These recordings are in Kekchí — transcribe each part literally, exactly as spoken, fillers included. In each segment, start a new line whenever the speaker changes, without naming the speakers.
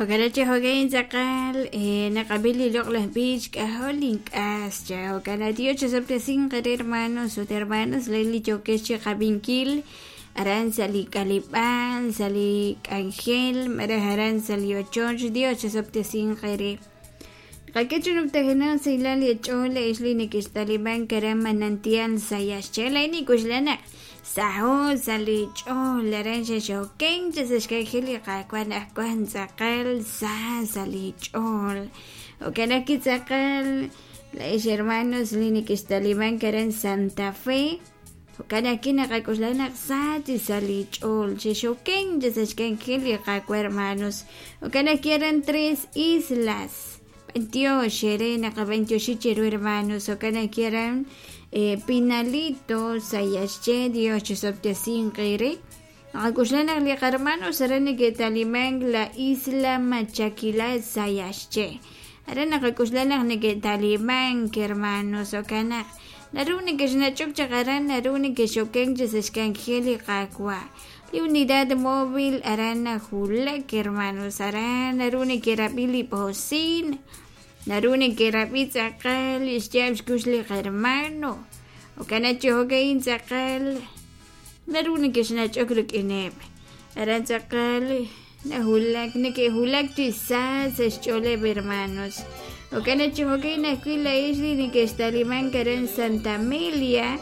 Jo'kan chi jo'kan tz'aqal naqab'i li loq'laj b'ich k'ajol ink'as cha jo'kan Dios chosob'tesinq qere hermanos ut hermanas li yookex chiqab'inkil aran sa' li k'aleb'aal sa' li k'anjel malaj aran sa' li ochoch Dios chosob'tesinq qere. Qak'e chi numtajenaq sahilal li ch'ool ex li nekextalimank aran Manantial Sayaxche laa'in nik'uxla naq saho sa' li ch'ool aran xexoken chi sa' xk'anjel li Qaawa' anaqwan tz'aqal sa sa' li ch'ool. Jo'kan ajwi' tz'aqal laa'ex hermanos li nekextalimank aran Santa Fe jo'kan ajwi' naqak'uxla naq sa chi sa' li ch'ool xexoken chi sa' xk'anjel li Qaawa' hermanos. Jo'kan ajwi' aran Tres Islas b'antiox ere naqab'antioxi cheru hermanos. Jo'kan ajwi' aran eh, Pinalito Sayaxche Dios chosob'tesinq ere. Naqak'uxla naq li qarmanos aran neke'talimank la isla Machaquila Sayaxche aran naqak'uxla naq neke'talimank hermanos. Jo'kan naq naru nekexnach'ok chaq aran naru nekexoken chi sa' xk'anjel li Qaawa'. Li unidad móvil aran najulak hermanos aran naru neke'rab'i li bocin naru neke'rab'i tz'aqal li xyaab' xkux li qarmano. Jo'kan chi jo'kan tz'aqal naru nekexnach'ok rik'ineb' aran tz'aqal najulak neke'julak chi sa sa' xch'ooleb' hermanos. Jo'kan chi jo'kan ajwi' la'ex li nekextalimank aran Santa Amelia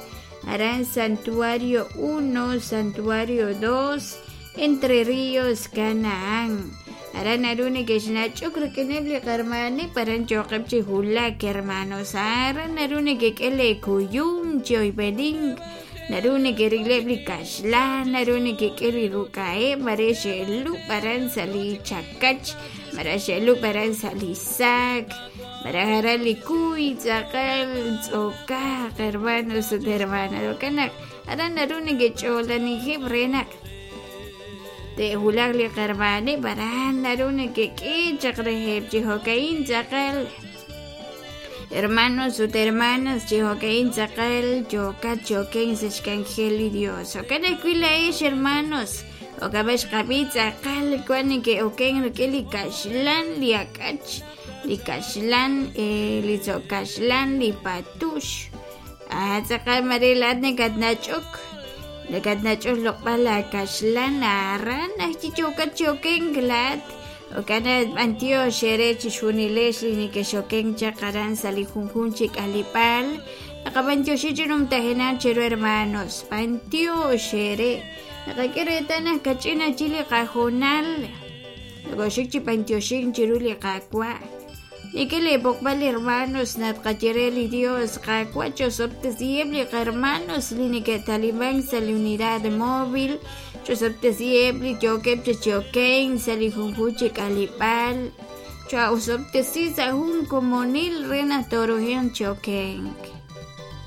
aran Santuario uno, Santuario dos, Entre Ríos, Canaán. Aran naru nekexnach'ok rik'ineb' li qarmaneb' aran choqeb' chi julak hermanos. Aran naru nekek'e leekuyum chi oyb'enink naru nekerileb' li kaxlan naru nekek'e li ruk'a'eb' mare xe'lub' aran sa' li chakach mare xe'lub' aran sa' li saak malaj aran li kuy tz'aqal tz'okaq hermanos ut hermanas. Jo'kan naq aran naru nekech'oolanijeb' re naq te'julaq li qarmaneb' aran naru nekek'e chaq reheb' chi jo'ka'in tz'aqal hermanos ut hermanas chi jo'ka'in tz'aqal yookat choken sa' xk'anjel li Dios. Jo'kan ajwi' la'ex hermanos jo'kan xqab'i tz'aqal wan neke'oken rik'in li kaxlan li ak'ach li kaxlan eh, li tzo'kaxlan li patux ah tz'aqal mare laat nekatnach'ok nekatnach'ok loq'b'al la kaxlan aran ajchi yookat choken laat. Jo'kan b'antiox ere chixjunilex li nekexoken chaq aran sa' li junjun chi k'aleb'aal naqab'antioxi chi numtajenaq cheru hermanos b'antiox ere naqak'e reetal naq kach'in achi li qajonal nakoxik chi b'antioxink chiru li Qaawa'. Nik'e leeb'oqb'al hermanos naq tqayere li Dios Qaawa' chosob'tesiheb' li qarmanos li neke'talimank sa' li unidad móvil chosob'tesiheb' li yookeb' chi choken sa' li junjun chi k'aleb'aal cho'osob'tesi sa' jun komonil re naq torojenq chokenk.